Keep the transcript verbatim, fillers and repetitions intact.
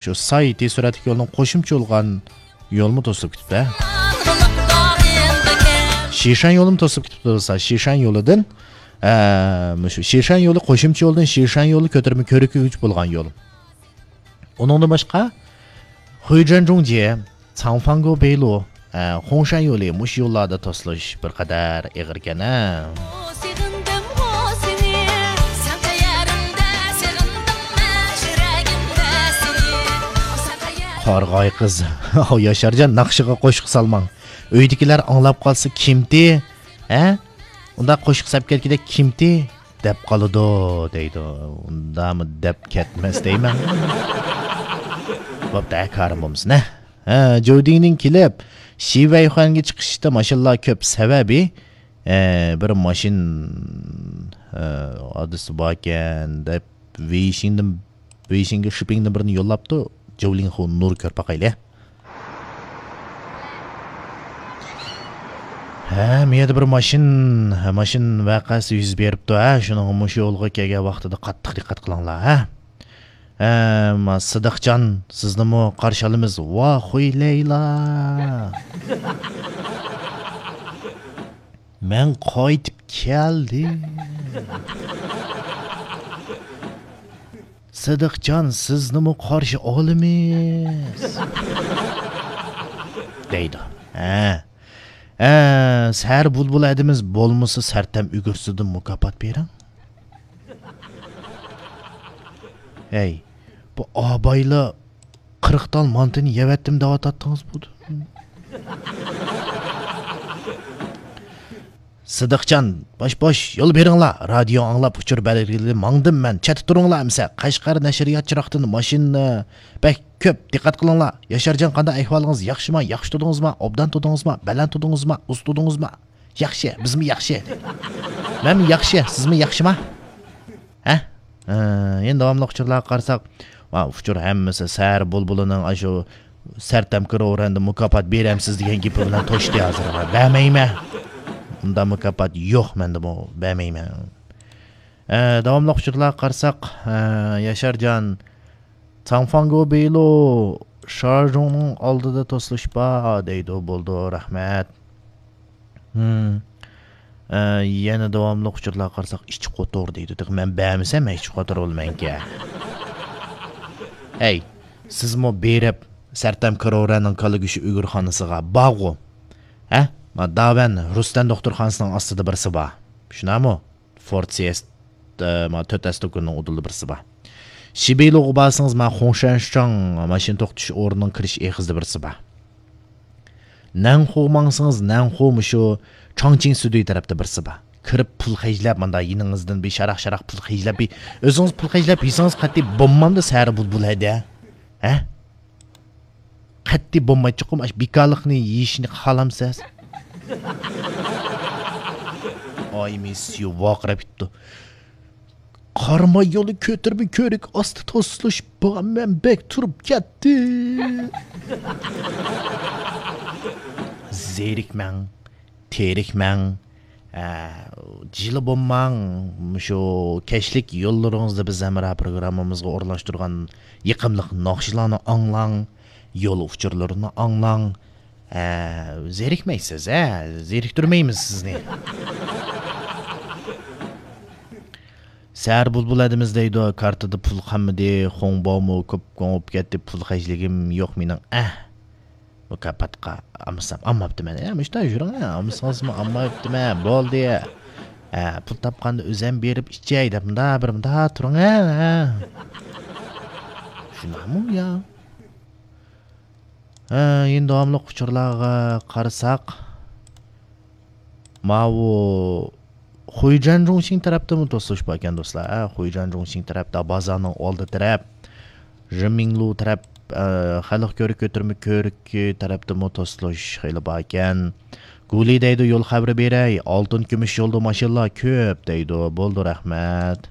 شۇ سايتى سۈرەتلىك يولنىڭ قوشۇمچە بولغان يولمۇ توسۇلۇپ كېتىپتۇ. شىشان يولىمۇ توسۇلۇپ كېتىپتۇ دوستلار. شىشان يولىدىن، ئە، مۇشۇ شىشان يولى قوشۇمچە يولدىن شىشان يولى كۆتۈرمە كۆرۈككىچە بولغان يول. ئۇنىڭدىن باشقا، خۇيجەن جۇڭجيې، چاڭفاڭگو بېيلۇ، ئە، خۇڭشەن يولى مۇشۇ يوللاردا توسۇلۇش بىر قەدەر ئېغىركەن ھە. قارىغاي قىز، ياشارجان ناخشىغا قوشۇق سالماڭ. ئۆيدىكىلەر ئاڭلاپ قالسا كىمتى؟ ھە؟ ئۇنداق قوشۇق سەپ كەتكۈدەك كىمتى؟ دەپ قالىدۇ دەيدۇ. ئۇنداقمۇ دەپ كەتمەس دەيمەن. بوپتۇ، ھە، كارىم بولمىسۇن، ھە. ھە، جودىنىڭ كېلىپ، شىۋەيخۇەنگە چىقىشتا ماشىنىلار كۆپ سەۋەبى، ئە، بىر ماشىنا، ئە، ئادرېسى باركەن دەپ، ۋېيشىندىن، ۋېيشىنگە شىپىڭدىن بىرنى يوللاپتۇ. جوۋلىڭخۇ نۇر كۆرۈپ باقايلى. ھە، مۇ يەردە بىر ماشىنا، ماشىنا ۋەقەسى يۈز بېرىپتۇ، ھە، شۇنىڭغا مۇشۇ يولغا كەلگەن ۋاقتىدا قاتتىق دىققەت قىلىڭلار، ھە. ھە، ما سىدىقجان، سىزنىمۇ قارشى ئالىمىز. ۋاخۇي لەيلا. مەن قايتىپ كەلدىم. سىدىقجان، سىزنىمۇ قارشى ئالىمىز. دەيدۇ. ھە. ھە، سەھەر بۇلبۇل ھەدىمىز بولمىسا سەرتەم ئۈگرىسىدىن مۇكاپات بېرىڭ. ھەي، بۇ ئابايلا قىرىق تال مانتىنى يەۋەتتىم دەۋاتاتتىڭىز بۇ. سىدىقجان، باش بوش، يول بېرىڭلار. رادىيو ئاڭلاپ، ئۇچۇر بەلگىلىدە ماڭدىم مەن. چەتتە تۇرۇڭلار ئەمسە. قەشقەر نەشرىيات چىراغدىن ماشىنا بەك كۆپ. دىققەت قىلىڭلار. ياشارجان، قانداق ئەھۋالىڭىز؟ ياخشىما؟ ياخشى تۇردىڭىزما؟ ئوبدان تۇردىڭىزما؟ بەلەن تۇردىڭىزما؟ ئۇز تۇردىڭىزما؟ ياخشى، بىزمۇ ياخشى. مەنمۇ ياخشى، سىزمۇ ياخشىما؟ ھە؟ ھە، يەنە داۋاملىق ئۇچۇرلارغا قارىساق، ۋا، ئۇچۇر ھەممىسى سەھەر بۇلبۇلىنىڭ ئاشۇ سەرتەم كىرورەندە مۇكاپات بېرەمسىز دېگەن گېپى بىلەن توشتى ھازىر. بەرمەيمەن. ئۇنداق مۇكاپات يوق مەندىمۇ، بەرمەيمەن. ئە، داۋاملىق ئۇچۇرلارغا قارىساق، ئە، ياشارجان، چاڭفاڭگو بېيلۇ شارژۇڭنىڭ ئالدىدا توسۇلۇش بار دەيدۇ. بولدى، رەھمەت. ھىم. ئە، يەنە داۋاملىق ئۇچۇرلارغا قارىساق، ئىچ قوتۇر دەيدۇ. تېخى مەن بەرمىسەم، مەن ئىچ قوتۇر بولىمەنكەن. ھەي، سىزمۇ بېرىپ، سەرتەم كرورەنىڭ كالا گۆشى ئۈگرىخانىسىغا بارغۇ. ھە؟ ما داۋەن رۇستەن دوختۇرخانىسىنىڭ ئاستىدا بىرسى بار. شۇنداقمۇ؟ فورد سىيەس، ئە، ما تۆت ئەس توكۇننىڭ ئۇدۇلدا بىرسى بار. شىبىلۇغا بارسىڭىز، ما خۇڭشەنشىچاڭ ماشىنا توختىتىش ئورنىنىڭ كىرىش ئېغىزىدا بىرسى بار. نەنخۇغا ماڭسىڭىز، نەنخۇ مۇشۇ چاڭچىڭ سۈدۈي تەرەپتە بىرسى بار. كىرىپ پۇل خەجلەپ، ماندا يېنىڭىزدىن بىر شاراق-شاراق پۇل خەجلەپ، بىر ئۆزىڭىز پۇل خەجلەپ يېسىڭىز قەتئىي بولمامدۇ سەھەر بۇلبۇل ھەدە؟ ھە؟ قەتئىي بولمايدۇ چوقۇم، ئاشۇ بىكارلىقنى يېيىشنى خالامسىز؟ ئاي مىس يۇ ۋارقىراپ كېتىپتۇ. قاراماي يولى كۆتۈرمە كۆرۈك ئاستى توسۇلۇش بار، مەن بەك تۇرۇپ كەتتىم. زېرىكمەڭ، تېرىكمەڭ، ئە، جىلە بولماڭ. مۇشۇ كەچلىك يوللىرىڭىزدا بىز ھەمراھ پروگراممىمىزغا ئورۇنلاشتۇرغان يېقىملىق ناخشىلارنى ئاڭلاڭ، يول ئۇچۇرلىرىنى ئاڭلاڭ. ئە، زېرىكمەيسىز، ھە؟ زېرىكتۈرمەيمىز سىزنى. سەھەر بۇلبۇل ھەدىمىز دەيدۇ، كارتىدا پۇل قالمىدى، خۇڭباۋمۇ كۆپ كوڭ بولۇپ كەتتى، پۇل خەجلىگىم يوق مېنىڭ، ئەھ. مۇكاپاتقا ئالمىسام، ئالماپتىمەن. يا، مۇشۇنداق يۈرۈڭ، ھە، ئالمىسىڭىزمۇ ئالمايۋەتتىمەن، بولدى. ھە، پۇل تاپقاندا ئۆزەم بېرىپ ئىچەي دەپ، مۇنداق بىر مۇنداق تۇرۇڭ، ھە، ھە. شۇنداقمۇ يا؟ ھە، يەنە داۋاملىق ئۇچۇرلارغا قارىساق، ماۋۇ خۇيجەن جۇڭشىڭ تەرەپتىمۇ توسۇلۇش باركەن، دوستلار. ھە، خۇيجەن جۇڭشىڭ تەرەپتە، بازارنىڭ ئالدى تەرەپ، رىمىڭلۇ تەرەپ، ئە، خەلق كۆرۈك، كۆتۈرمە كۆرۈكى تەرەپتىمۇ توسۇلۇش خېلى باركەن. گۇلى دەيدۇ، يول خەۋىرى بېرەي، ئالتۇن كۈمۈش يولدا ماشىنىلار كۆپ دەيدۇ. بولدى، رەھمەت.